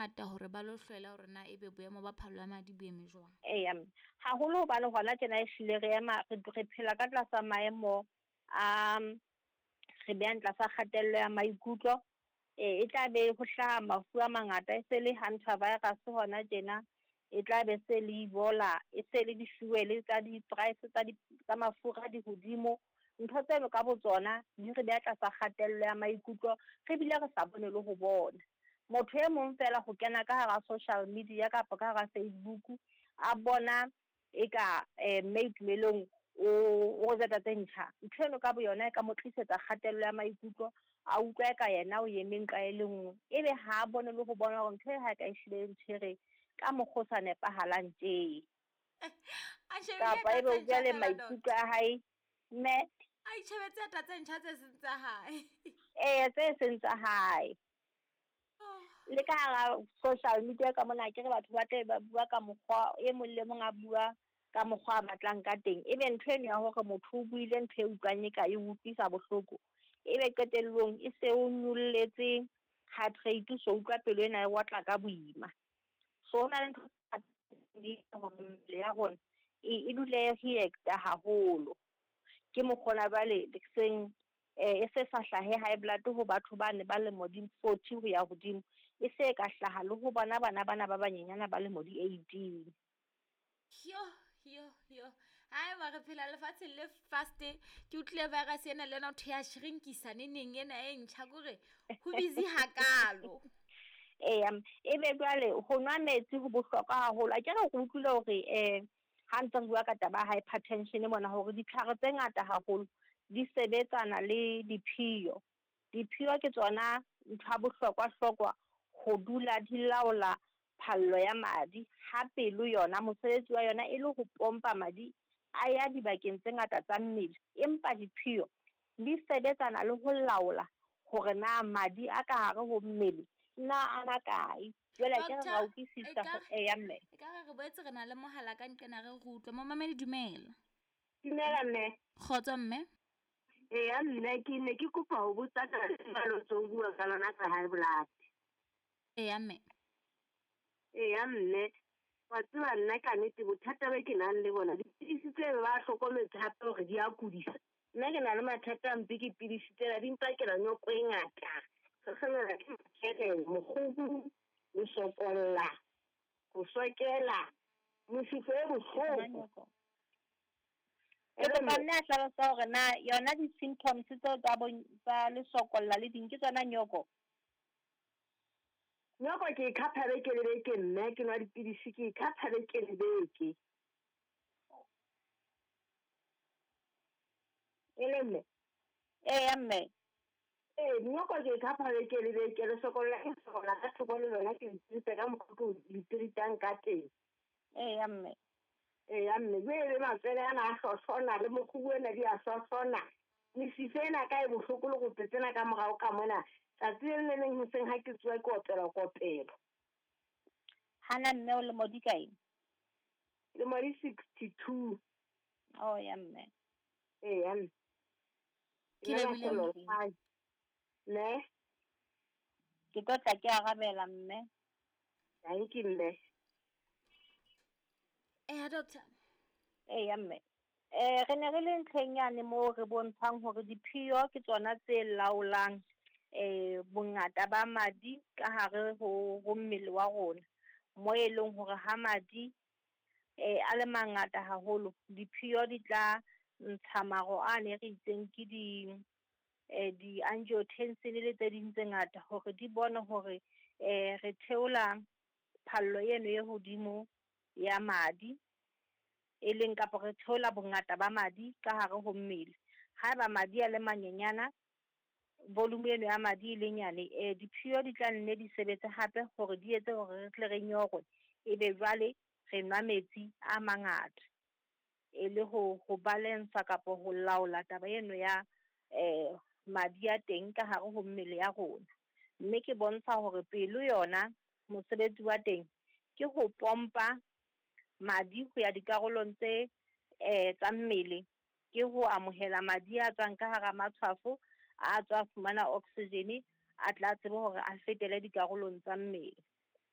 bangata hore ba lo hlwela hore na ebe boemo ba phallo ya madi bo eme jwang. Eya, haholo hobane hona tjena ehlile re ema re phela ka tlasa maemo a re behang tlasa kgatello ya maikutlo. E tla be ho hlaha mafu a mangata, e se le hantavirus hona tjena, e tla be se le Ebola, e se le di-fuel tsa di-price tsa mafura di hodimo. Ntho tseno ka botsona di re beha tlasa kgatello ya maikutlo, re bile re sa bone le ho bona. Motho e mong fela ho kena ka hara social media kapa ka hara Facebook, a bona eka mme Itumelong o rojeta tse ntjha. Ntho eno ka boyona e ka mo tlisetsa kgatello ya maikutlo, a utlwa eka yena o eme nqa e le nngwe, ebe ha a bone le ho bona hore ntho e ha ka ehlile e ntshwere ka mokgwa o sa nepahalang tje. Kapa ebe o jwale maikutlo a hae mme a itjhebetse ata tse ntjha tse seng tsa hae. Ee, tse seng tsa hae. Le ka hara social media ka mona akere batho ba tle ba bua ka mokgwa e mong le mong a bua ka mokgwa a batlang ka teng. Ebe ntho eno ya hore motho o buile ntho e utlwang e ka e utlwisa bohloko, ebe qetellong e se o nyolletse heart rate, o so utlwa pelo ena e otla ka boima. So ho na le ntho di hore mmele ya rona e dule e react-a haholo. Ke mokgona jwale seng e se sa hlahe high blood ho batho ba ne ba lemo di 40 ho ya hodimo, e se ka hlaha le ho bona bana bana ba banyenyana ba lemo di 18. Yo yo yo, haeba re phela lefatsheng le fast, ke utlwile virus ena le yona ho thwe ya shrinkisa neneng ena e ntjha, kore ho busy hakalo. Eya, ebe jwale ho nwa metsi ho bohlokwa haholo. Akere re utlwile hore ha ntse re bua ka taba ya hypertension mona, hore ditlhare tse ngata haholo di sebetsana le diphio. Diphio ke tsona ntho ya bohlokwa-hlokwa ho dula di laola phallo ya madi. Ha pelo yona mosebetsi wa yona e le ho pompa madi a ya dibakeng tse ngata tsa mmele, empa diphio di sebetsana le ho laola hore na madi a ka hare ho mmele na a makae. Jwale akere ra utlwisisa eya mme. Ekare re boetse re na le mohala ka nqena re re utlwe. Momamedi, dumela. Dumela mme. Kgotso mme. Eya mme, ke ne ke kopa ho botsa ka lefalo tseo bua ka lona tsa high blood. Eya mme. Eya mme, wa tseba nna ka nnete bothata be ke nang le bona, dipidisi tse ba hlokometse hape hore di a kudisa. Nna ke na le mathata a mpe ke pidisi tsena di mpakela nyoko e ngata. Hlohlomela ke mokere, mokgubu, lesokolla, ho sokela, mosifo e bohloko. Ke kopa mme a hlalosa hore na yona di-symptoms tseo tsa lesokolla le ding ke tsona nyoko? Nyoko ke e khapha beke le beke mme, ke nwa dipidisi ke e khapha beke le beke. E le mme? Eya mme. Ee, nyoko ke e khapha beke le beke, lesokolla ke sokolla ka thoko le lona ke le treat-a ka mokgwa ke le treat-ang ka teng. Eya mme. Eya mme, jwale le matswele ana a hlohlona le mokgubu ena di a hlohlona. Mesifa ena ka e bohloko le rope tsena ka morao ka mona. Tsatsi le le leng hoseng ha ke tsoha ke opelwa kopelo. Hana mme o lemo di kae? Lemo di 62. Oh ya mme. Eya mme. Ke lebohile mme. Ne? Ke tlo tla ke arabela mme. Thank you mme. Eya doctor. Eya mme. Re ne re le ntlheng yane moo re bontshang hore diphio ke tsona tse laolang bongata ba madi ka hare ho mmele wa rona. Mo e leng hore ha madi a le mangata haholo, diphio di tla ntsha maro a ne re itseng ke di-angiotensin le tse ding tse ngata hore di bone hore re theola phallo eno e hodimo ya madi, e leng kapa re theola bongata ba madi ka hare ho mmele. Haeba madi a le manyenyana, volume eno ya madi e le nyane, diphio di tla nne di sebetse hape hore di etse hore re tle re nyorwe, ebe jwale re nwa metsi a mangata e le ho balance kapa ho laola taba eno ya madi a teng ka hare ho mmele ya rona. Mme ke bontsha hore pelo yona mosebetsi wa teng ke ho pompa madi ho ya dikarolong tse tsa mmele, ke ho amohela madi a tswang ka hara matshwafo, a tswa fumana oxygen, a tla tsebe hore a fetele dikarolong tsa mmele.